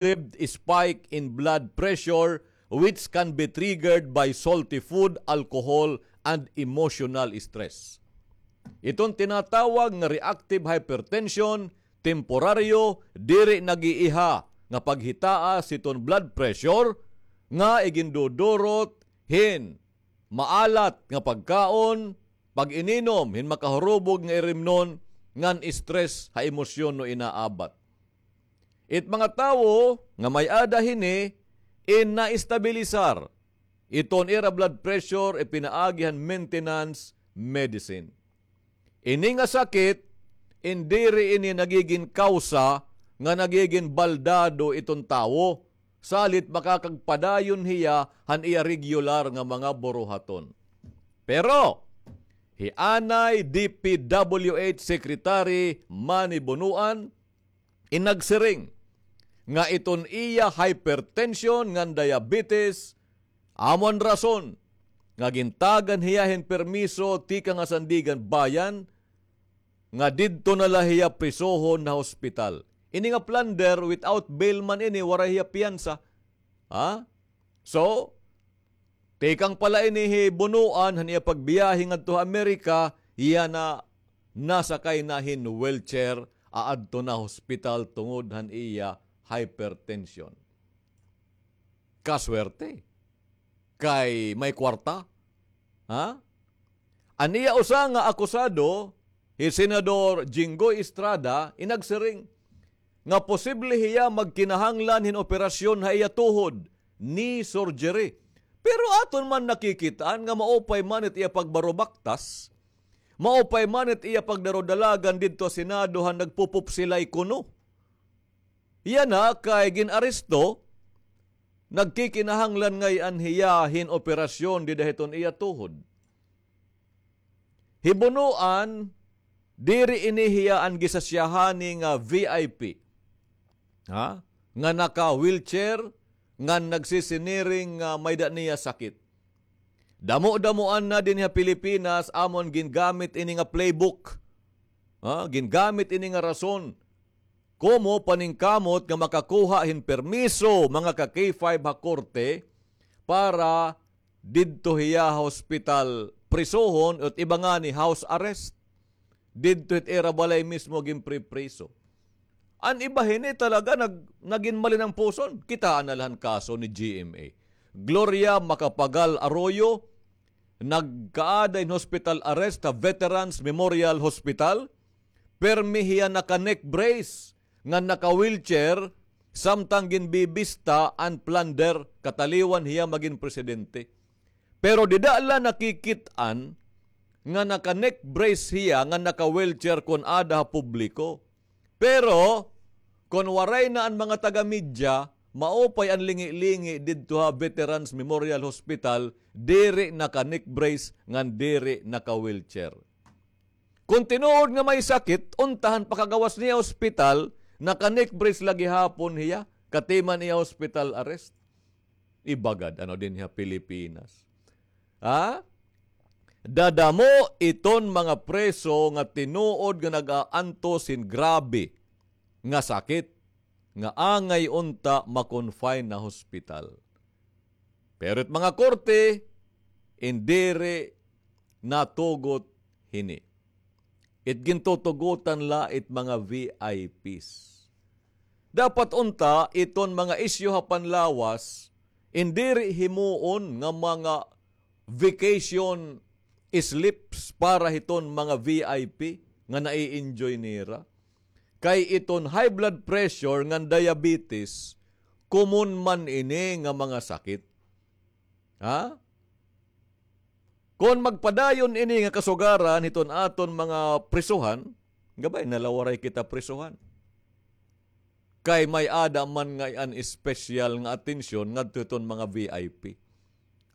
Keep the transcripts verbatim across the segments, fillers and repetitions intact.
spike in blood pressure which can be triggered by salty food, alcohol, and emotional stress. Iton tinatawag nga reactive hypertension, temporaryo, diri nag-iiha nga paghitaas hiton blood pressure nga igindudurot hin maalat nga pagkaon, pag-ininom hin makahurubog nga irimnon ngan stress ha emosyon no inaabat. It mga tawo nga may-ada hini in naestabilisar iton ira blood pressure ipinaagi han maintenance medicine. Ini nga sakit, in diri ini nagigin kawsa nga nagigin baldado iton tawo, salit makakagpadayon hiya han iya regular nga mga buruhaton. Pero, hi anay D P W H Secretary Manny Bonoan, in nagsiring nga iton iya hypertension ngan diabetes, amo an rason nga gintagan hiya hin permiso tikang ha Sandiganbayan nga didto na la hiya prisohon ha hospital. Ini nga plunder, without bail man ini, waray hiya piyansa. Ha? So, tikang pala ini hi Bonoan han iya pagbiyahe ngadto ha Amerika, iya na nasakay na hin wheelchair, aadto na hospital tungod han iya hypertension. Kaswerte. Kay may kwarta. Ha? An iya usa nga akusado, hi Senador Jinggoy Estrada, in nagsiring nga posible hiya magkinahanglan hin operasyon ha iya tuhod, knee surgery. Pero aton man nakikit-an nga maupay man it iya pagbarubaktas, maupay man it iya pagdarudalagan didto ha Senado han nagpupupsilay kuno. Yana kay gin-aresto, nagkikinahanglan ngay-an hiya hin operasyon dida hiton iya tuhod. Hi Bonoan, diri ini hiya an gisasyahani nga V I P. Ha? Nga naka-wheelchair, nga nagsisiniring nga may-ada niya sakit. Damo-damoan na dinhi ha Pilipinas, amon gingamit ini nga playbook. Ha? Gingamit ini nga rason. Komo paningkamot nga makakuha hin permiso, mga ka-K five ha korte, para didto hiya ha hospital prisohon, ot iba ngani house arrest. Didto hit ira balay mismo ginpripriso. An iba hini talaga nag-, nagin malinampuson. Kitaa na la han kaso ni G M A. Gloria Macapagal Arroyo, nagkaada hin hospital arrest ha Veterans Memorial Hospital. Permi hiya naka-neck brace, ngan naka-wheelchair, samtang ginbibista an plunder, kataliwan hiya magin presidente. Pero dida la nakikit-an nga naka-neck brace hiya, nga naka-wheelchair kon ada ha publiko. Pero, kon waray na an mga taga-media, maupay an lingi-lingi didto ha Veterans Memorial Hospital, diri naka-neck brace, ngan diri naka-wheelchair. Kon tinuod nga may sakit, unta han pakagawas niya ospital, naka-neck brace la gihapon hiya, katiman iya hospital arrest. Iba gad, ano, dinhi ha Pilipinas. Ha? Dadamo iton mga preso nga tinuod nga nag-aantos hin grabe nga sakit, nga angay unta ma-confine ha hospital. Pero it mga korte, in diri natugot hini. It gintutugotan la it mga V I Ps. Dapat unta iton mga isyu ha panlawas, in diri himuon nga mga vacation slips para hiton mga V I P nga nai-enjoy nira. Kay iton high blood pressure ngan diabetes, common man ini nga mga sakit. Ha? Kon magpadayon ini nga kasugaran hiton aton mga prisuhan, gabay na la waray kita prisuhan. Kay may-ada man ngay-an espesyal nga atensyon ngadto hiton mga V I P.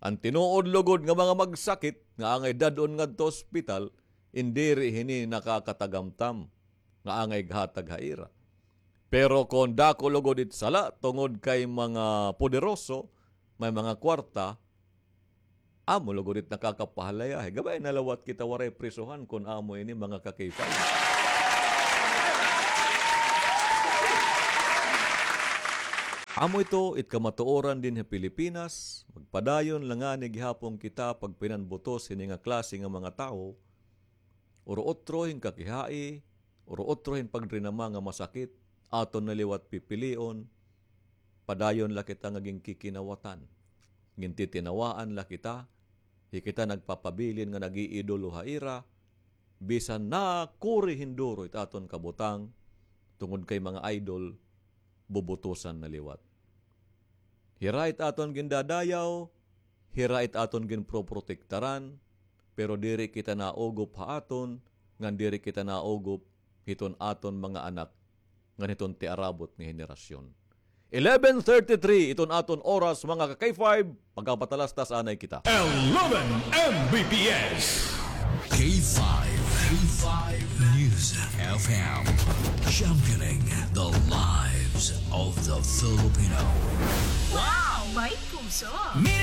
An tinuod lugod nga mga magsakit nga angay dad-on ngadto ospital, in diri hini nakakatagamtam nga angay ighatag ha ira. Pero kon dako lugod it sala tungod kay mga poderoso, may mga kwarta, amo lugod it nakakapahalayahay. Gabay na la wat kita waray prisuhan kon amo ini, mga ka-K five. Amo ito it kamatuoran dinhi ha Pilipinas, magpadayon la ngani gihapon kita pagpinanbutos hini nga klase nga mga tawo, uro-otro hin kakihai, uro-otro hin pagdrinama nga masakit, aton na liwat pipilion, padayon la kita nga ginkikinawatan, gintitinawaan la kita, hi kita nagpapabilin nga nag-iidolo ha ira, bisan nakuri hin duro it aton kabutang, tungod kay mga idol, bubutusan na liwat. Hira it aton gindadayaw, hira it aton ginproprotektaran, pero diri kita naugop ha aton, ngan diri kita naugop hiton aton mga anak, ngan hiton tiarabot nga henerasyon. Eleven thirty-three iton aton oras, mga ka-K five, pagkapatalastas anay kita. Eleven M B P S. K five, K five News F M, championing the lives of the Filipino. Wow! May puso!